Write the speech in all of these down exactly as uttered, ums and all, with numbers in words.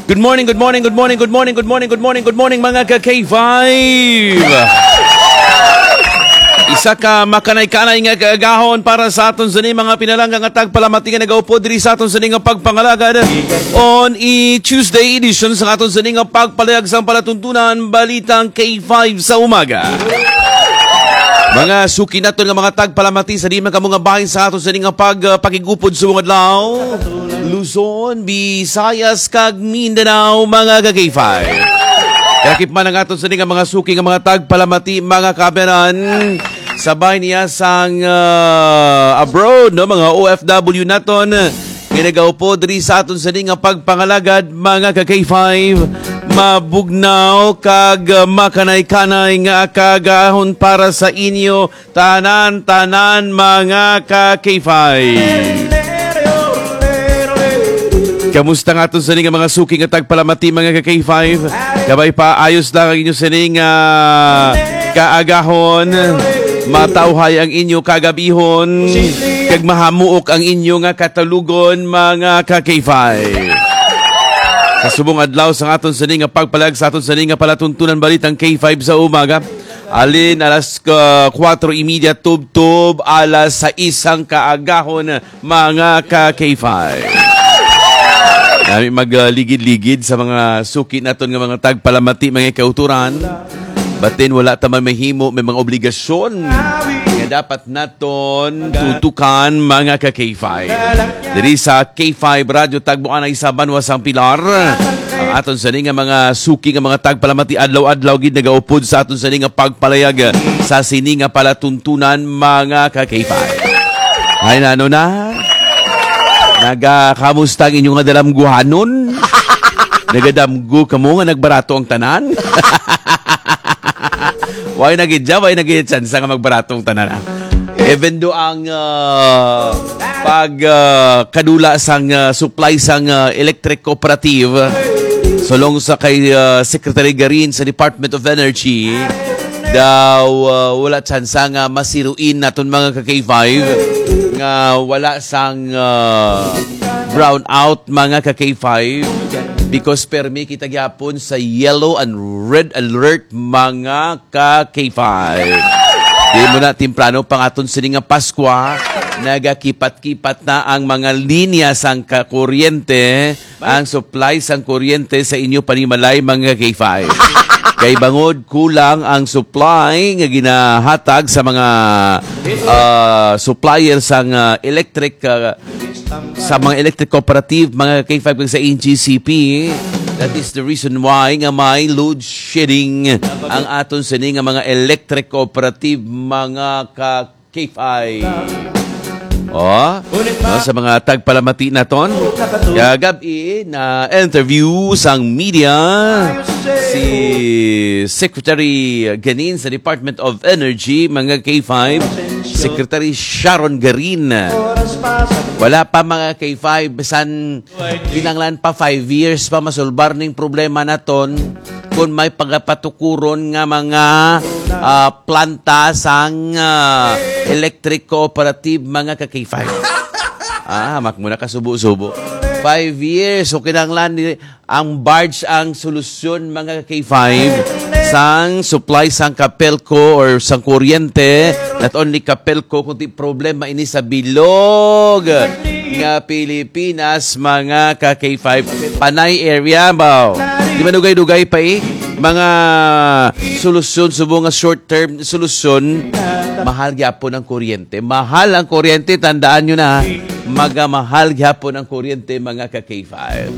Good morning, good morning, good morning, good morning, good morning, good morning, good morning, mga ka K five. Isa ka makanay-kanay nga kaagahon para sa aton sini mga pinalangga nga tagpalamati nga nagaupod diri sa aton sini nga pagpangalagad on i Tuesday edition sa aton sini nga pagpalayag sang palatuntunan balitang K five sa umaga. Mga suki naton nga mga tagpalamati sa di man kamo nga bahin sa aton sini nga pag uh, pakigupod sa mga adlaw. Luzon, Visayas, kag Mindanao, mga ka-K five. Lakip man ang aton sini nga mga suki nga mga tagpalamati, mga kaberan. Sabay niya sang ah, abroad, no, mga O F W naton. Nga nagaupod diri sa aton sini nga pagpangalagad, mga ka-K five. Mabugnaw kag ah, makanay-kanay nga kagahon para sa inyo tanan-tanan, mga ka-K five. Kamusta nga aton sini nga mga suki nga tagpalamati, mga ka-K five? Kabay pa, ayos lang ang inyo sini nga kaagahon. Matawhay ang inyo kagabihon. Kag mahamuok ang inyo nga katalugon, mga ka-K five. Sa subong adlaw sa aton sini nga pagpalag sa aton sini nga palatuntunan balitang K five sa umaga. Alin alas uh, kwatro y media tubtob alas sais sang kaagahon, mga ka-K five. Nami magligid-ligid sa mga suki naton nga mga tagpalamati, mga kauturan. Batin wala ta man mahimo, may mga obligasyon nga dapat naton tutukan, mga ka-K five. Diri sa K five Radyo Tagboanay sa Banwa sang Pilar. Ang aton sini nga mga suki nga mga tagpalamati adlaw-adlaw gid nagaupod sa aton sini nga pagpalayag sa sini nga palatuntunan, mga ka-K five. Ay, nano na? Naga, kamusta ang inyo nga dalamguhanon? Nagadamgo kamo nga nagbarato ang tanan? Why na gid dyan? Why na gid chance nga magbarato ang tanan, ah? Even though ang ah, pag ah, kadula sang ah, supply sang ah, electric cooperative, sulong sa kay ah, Secretary Garin sa Department of Energy, daw ah, wala tsansa nga masiruin naton, mga ka-K five, nga wala sang ah, brown out, mga ka-K five, because permi kita gyapon sa yellow and red alert, mga ka-K five. Di mo na temprano pa nga aton sini nga Paskwa, nagakipat-kipat na ang mga linya sang kakuryente, ang supply sang kuryente sa inyo panimalay, mga K five. Kay bangod kulang ang supply nga ginahatag sa mga ah, supplier sang ah, electric ah, sa mga electric cooperative, mga K five, kag sa N G C P. That is the reason why nga may load shedding ang aton sini nga mga electric cooperative, mga ka K five. Oh, no, sa mga tagpalamati naton, kagab-i na interview sang media si Secretary Ganin sa Department of Energy, mga K five, Secretary Sharon Garin. Wala pa, mga K five, bisan kinanglan pa five years pa masulbar ning problema naton kung may pagapatukuron nga mga ah, planta sang ah, electric cooperative, mga ka K five. Ah, hamak mo na kasubo-subo. Five years, so kinanglan ni ang barge ang solusyon, mga ka K five, sang supply sang Capelco or sang kuryente. Not only Capelco, kundi problema ini sa bilog nga Pilipinas, mga ka K five. Panay area, baw. Di ba dugay-dugay pa eh? Mga solusyon, subong nga short-term solusyon, mahal gyapon ang kuryente. Mahal ang kuryente, tandaan nyo na, magamahal gyapon ang kuryente, mga ka K five.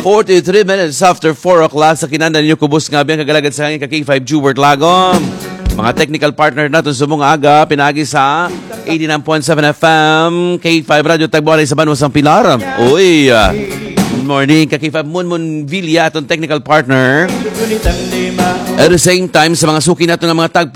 Forty-three minutes after four o'clock sa kinanda ninyo, kubos nga biyang kagalagad sa hangin ka K five Jubert Lagom. Mga technical partner naton subong nga aga, pinagi sa eighty-nine point seven F M, K five Radyo Tagboanay sa Banwa sang Pilar. Uy, ah, good morning, ka K five Munmun Villa, atong technical partner. At the same time, sa mga suki nato nga mga tag